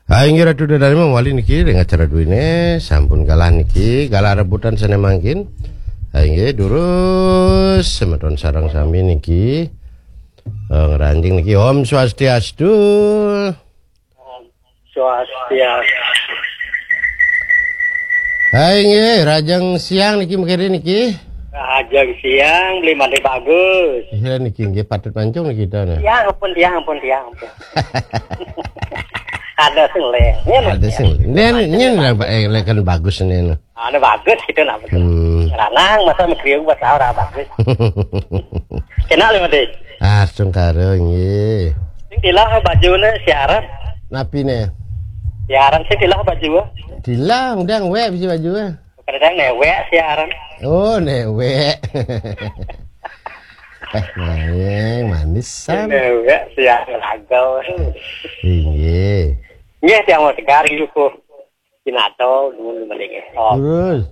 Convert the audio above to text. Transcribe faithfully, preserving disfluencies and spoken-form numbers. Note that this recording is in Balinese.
Ha inggih Ratu Dadane mawali niki ring acara duene sampun galah niki, galah rebutan sane mangkin. Ha inggih durus semeton sareng sami niki. Eh, ngranjing niki Om Swastiastu. Swastiastu. Ha inggih rajang siang niki mekere niki. Rajang siang beli mandi bagus. Iya niki nggih patut mancung niki kita nah. Ya ampun, ya ampun, ya ampun. Ada sing leh. Ini Ada sing. Nen nyen eh, lekan bagus nen. Ada bagus gitu nah. Hmm. Ranang masa mekriu buat orang bagus. Kena lima deh. Ah, sungkara nggih. Sing tilah bajune siaran. Napi ne? Siaran sing tilah baju. Tilah udah wek bisi baju eh. Kadang newek siaran. Oh, newek. Eh, manis manisan. Newek siaran lagau. Inggih. Nggih tiang mau tegar gitu. Kinato dulu mending. Oh. Terus.